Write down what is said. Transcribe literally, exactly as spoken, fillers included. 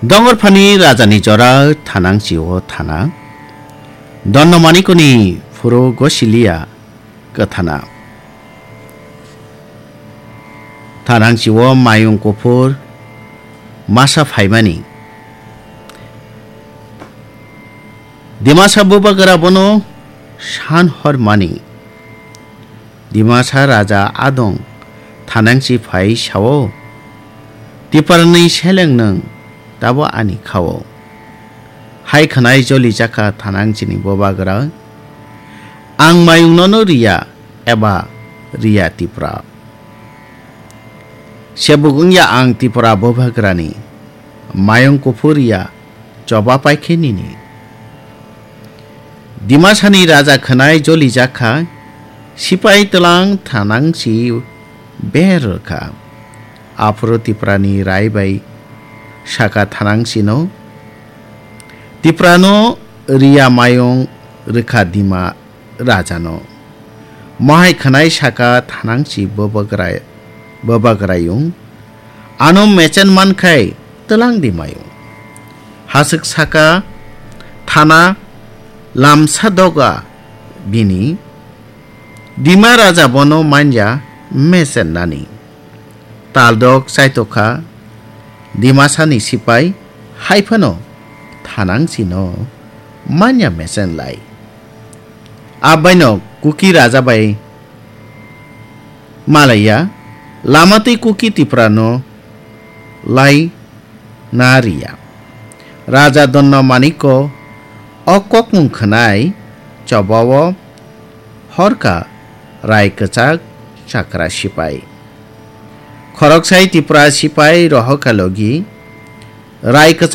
Dongorphani rajani jora thanangchi-o thana. Donno manikoni phuru gosiliya kwthana. Thanangchi-o mayung kuphur masa phaimani. Dimasa bubagra bono san hor mani. Dimasa raja adong thanangchi phai sao, "Tiprani seleng nwng tabo ani khao." Hai khwnai joli jakha thanangchini bubagra, "Ang mayung nono riya eba riya Tipra. Sebuk wngya ang Tipra bubagrani, mayung kuphur riya choba paikhe nini." Dimasani raja khwnai joli jakha, sipai tlang thanangchi ber rwkha. Aphuru Tiprani rai bai saka thanangchino, "Tiprano riya mayung rwkha Dima rajano." Mohai khwnai saka thanangchi bubagrai-, bubagrayung, "Ano mechen mankhai tlang di mayung." Haswk saka thana lamsa doga bini, Dima raja bono manya mechen nani. Taldok chaitokha Dimasani sipai, hai phano thanangchino manya mechen lai. Abaino Kuki raja bai malaiya, lama twi Kuki Tiprano lai na riya. Raja Donno Maniko o kokmung khwnai chobao horka rai kwchak chakra sipai. Khoroksai Tipra sipai rohorka logi rai kwchak